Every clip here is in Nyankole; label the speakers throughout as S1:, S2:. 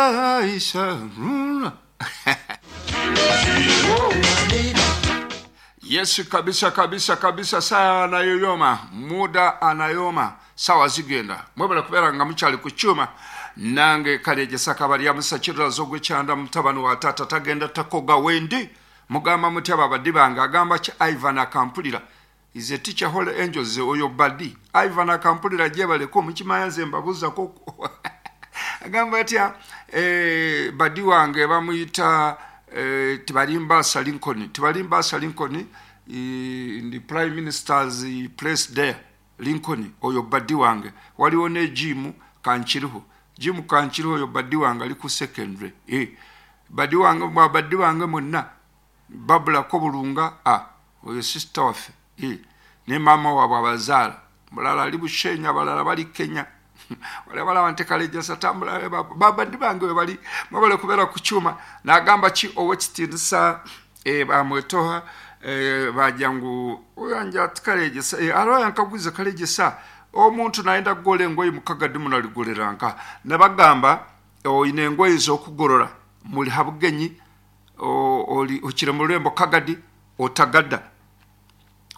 S1: Aisha. Yesu kabisa kabisa kabisa, saa anayoyoma, muda anayoma, sawa zigenda. Mwebale kubeera nga mukyali ku kyuma nange Kalyegyesa Kabaryamusa Kirirazo ogw'ekyanda mutabani wa taata tagenda takoga wendi. Mugamba mutya babadi bange? Agamba ki Ivan Akampulira is a teacher Holy Angels oyo badi Ivan Akampulira gyebaleko mukimanya nze mbabuuzako agamba atya eh, badi wange bamuyita eh, Tibalimbaasa Lincoln. Tibalimbaasa Lincoln in the prime minister's place there Lincoln oyo badi wange. Waliwo ne Jim Kankiriho. Jim Kankiriho oyo badi wange ali ku secondary eh, badi wange mwa badi wange mwenna babulako Bulunga ah, oyo sister waffe eh, ne maama waabwe abazaala mulala ali Bushenya abalala bali Kenya. Wali abalaba nti Kalejasa tambula babadi bange we bali mwebale kubeera ku kyuma. Nagamba ki owekitiinisa eh, bamwetoha eh, bagira ngu oyanja ati Kalejasa eh, hariho yankagwize Kalejasa omuntu nayenda kugora engoyi mukagadi munaligorera nka nabagamba oine engoyi z'okugorora muri habugenyi oli okire mu rurembo Kagadi otagada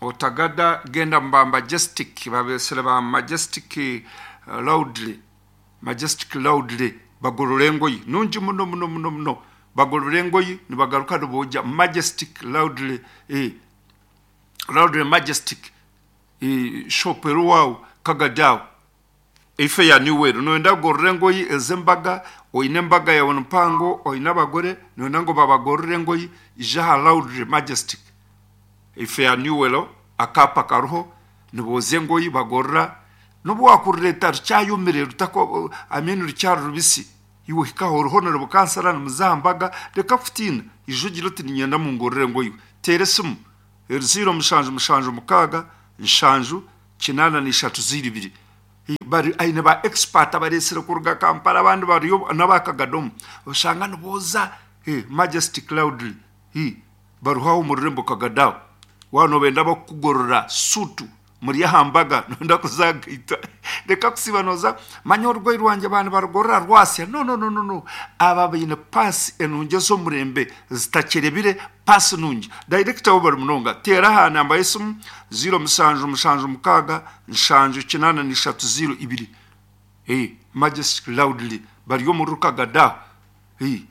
S1: otagada genda muba Majestic babesere ba Majestic Loudly Majestic Loudly bagorora engoyi nungi muno muno muno muno bagorora engoyi nibagaruka niboogya Majestic Loudly eh, Loudly Majestic eh, shop eriwawo Kagadi aho ife ya Newell noyenda kugorora engoyi ez'embaga oine embaga yawe mpango oine abagore noyenda ngu babagorore engoyi ija aha Loudly Majestic ife ya Newell akaapa kariho niboozya engoyi bagorora n'obu wakurureeta rukyayomire rutako I mean rukyari rubisi iwe ohika aho oriho nirubukansara nimuza aha mbaga reka kutiina ija ogire oti niinyenda mungorore engoyi teera esimu eri 0 7 7 6 7 8 0 2 bari aine ba expert abareesire kuruga Kampala abandi bariyo n'abakagadomu oshanga nibooza eh, Majestic Loudly eh, bariho aho omu rurembo Kagadi aho waaba nobenda abakukugorora suutu muri aha mbaga noyenda kuzagaita reka kusiiba nooza manya orugoyi rwangye baaba nibarugorora rwasya no no no no no aba baine paasi enungi ez'omurembe zitakyerebire paasi nungi director wo bari munonga teera aha namba y'esimu 0 7 7 6 7 8 3 0 2 eh, Majestic Loudly bari omu Rukagadi aho eh,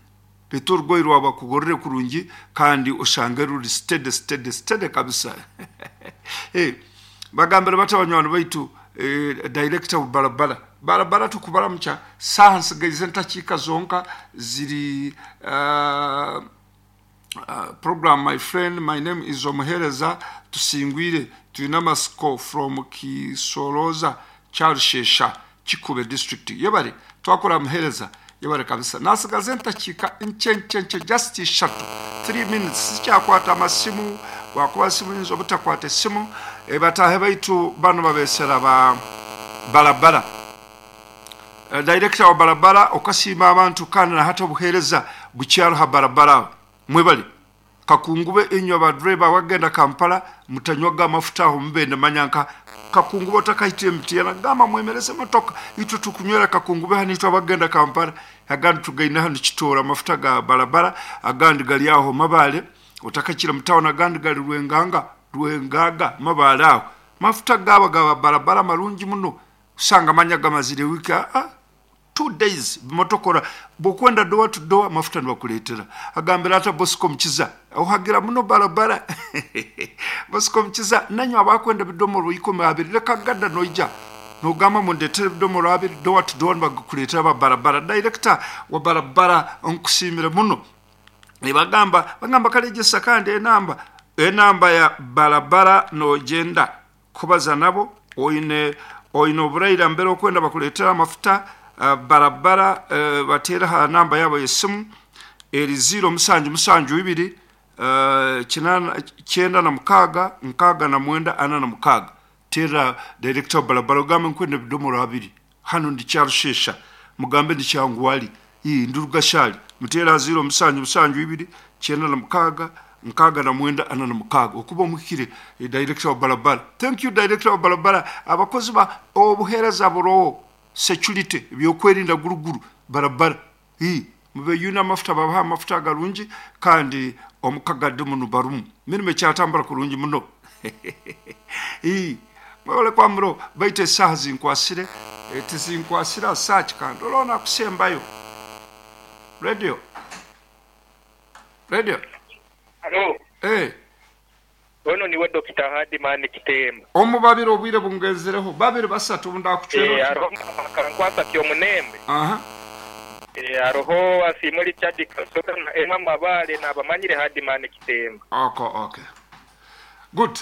S1: reeta orugoyi rwawe bakugorore kurungi kandi oshange ruri steady steady steady kabisa eh, bagambire bati abanywani baitu eh, director barabara barabara tukubaramukya saaha nsigaize entakiika zonka ziri program my friend my name is Omuhereza Tusingwire twine amasiko from Kisoroza Kyarushesha Kikube district yebare twakora Muhereza yebare kabisa nasigaza entakiika nkye nkye nkye just ishatu 3 minutes sikyakwata amasimu wakuba simu nyinza obutakwata esimu e, bataahe baitu bano babesera ba barabara director wa barabara okasiima abantu kandi na hati obuheereza bukyaro ha barabara aho mwebale kakungube inywe abadureba abagenda Kampala mutanywaga amafuta aho mubende manya nka kakungube otakahita Mityana gamba mwemereze emotoka itwe tukunywera kakungube hanu itwe abagenda Kampala agandi tugaine hanu Kitooro amafuta ga barabara agandi gari aho Mabale otakakira mu town agandi gari Rwenganga Rwengaga Mabale aho mafuta gaba gaba barabara marungi muno osanga amanya gamazire wiiki aa 2 days motokora bwokwenda door to door amafuta nibakuleetera agambira ata Bosco Mukiza ohagira muno barabara Bosco Mukiza nanywe abakwenda ebidomoro 20 reka gada noija nogamba mundetere ebidomoro 20 door to door nibakuleetera aba barabara director wa barabara nkusiimire muno nibagamba bagamba Kalegyesa kandi enamba enamba ya barabara nogyenda kubaza nabo oine oine oburaira mbere okwenda bakuleetera amafuta barabara bateere aha namba yaabo y'esimu eri 0 7 7 2 96 69 46 teera director wa barabara ogambe nkwenda ebidomoro 20 hanu ndi Kyarushesha mugambe ndi Kyangwali ii ndi Rugashari muteere aha 0 7 7 2 96 69 46 okuba omuhikire director wa barabara thank you director wa barabara abakozi ba obuheereza buroho security ebyokwerinda guruguru barabara Ii, mubeyune amafuta babahe amafuta agarungi kandi omukagadi munu barumu mirimo ekyatambura kurungi muno. Ii, mwebale kwamuro baitu esaaha zinkwasire eh, tizinkwasire asaaki kandi olwo nakusembayo. Radio. Radio.
S2: Halo.
S1: Eh.
S2: Ono niwe Dokita Hardman Kitemba.
S1: Omu babiri obwire bungenzireho babiri basatu obu ndakucwera
S2: Eh,
S1: oti.
S2: haroho Mama Kankwasa Kyomunembe.
S1: Aha.
S2: Eh, haroho Asiimwe Richard Kasoga na Emma Mabale nabamanyire Hardman Kitemba.
S1: Ok, ok. Good.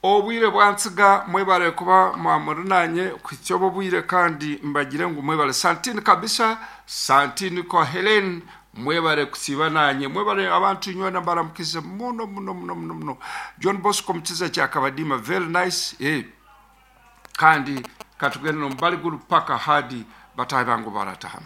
S1: Obwire bwantsiga mwebale kuba mwamuri nanye kuhitsya obu obwire kandi mbagire ngu mwebale Santini kabisa Santini kwa Helen mwebale kusiiba nanye mwebale abantu inywena mbaramukize muno muno muno muno muno John Bosco Mukiza Kyakabadiima very nice eh kandi katugende nomubali guru paka hadi batahi bangu baratahamu.